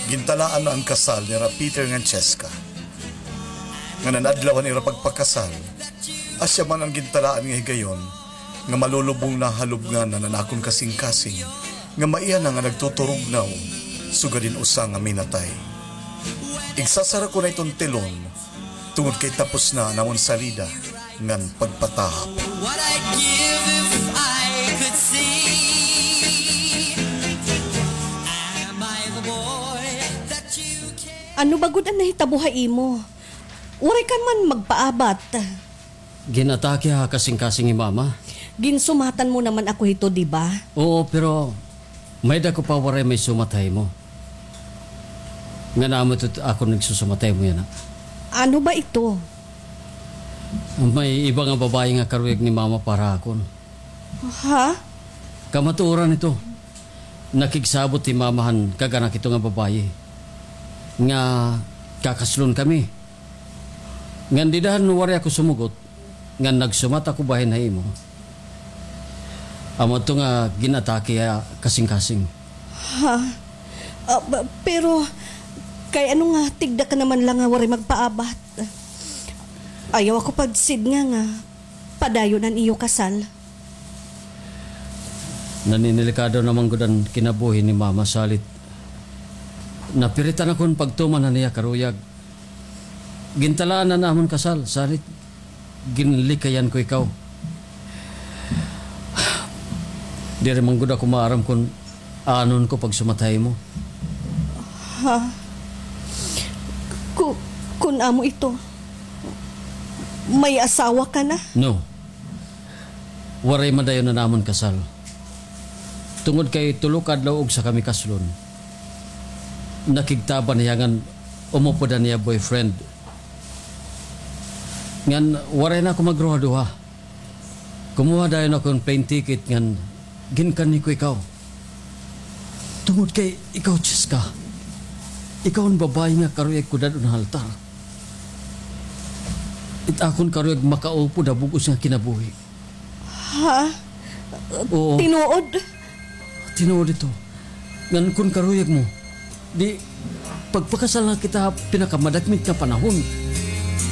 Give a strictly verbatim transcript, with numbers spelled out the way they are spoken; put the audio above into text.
Gintalaan na an kasal nira Peter ngan Cheska. Ngan an adlaw han ira pagpakasal, asya man an gintalaan nga higayon nga malulubong na ha lubnganan an akon kasingkasing nga maiha na nga nagtuturugnaw sugad hin usa nga minatay. Igsasara ko na iton telon tungod kay tapos na an amon salida ngan pagpatahap. What I'd give if I could see. Am I the boy that you care? Ano ba gud an nahitabo ha imo? Waray ka man magpaabat. Gin-atake ha kasingkasing hi Mama. Ginsumatan mo naman ako hito, di ba? Oo, pero may-ada ko pa waray maisumat ha imo. Ngan amo ito akon igsusumat ha imo yana. Ano ba ito? May iba nga babaye nga karuyag ni Mama para ha akon. Ha? Kamatuoran ito. Nakigsabot hi Mama han kag-anak hito nga babaye nga kakaslon kami. Ngan dida han waray ako sumugot, ngan nagsumat ako bahin ha imo. Amo adto nga gin-atake ha kasingkasing. Ha? Ah, ba-, pero, kay ano nga tigda ka naman la nga waray magpaabat? Ayaw ako pagsidnga nga padayon an iyo kasal. Naninilikado naman gud an kinabuhi ni Mama salit. Napiritan akon pagtuman han iya karuyag. Gintalaan na an amon kasal, salit ginlikayan ko ikaw. Diri man gud ako maaram kon anon ko pagsumat ha imo. Ha? Ku-, kun amo ito, may asawa ka na? No. Waray madayon an amon kasal. Tungod kay tulo ka adlaw ugsa kami kaslon, nakigtaban hiya ngan umupod an iya boyfriend. Ngan waray na ako magruhaduha. Kumuha dayon ako hin plane ticket ngan ginkanhi ko ikaw. Tungod kay ikaw, Cheska, ikaw an babaye nga karuyag ko dad-on ha altar. It akon karuyag makaupod ha bug-os nga kinabuhi. Ha? Oo. Tinuod? Tinuod ito. Ngan kon karuyag mo, di pagpakasal na kita ha pinakamadakmit nga panahon.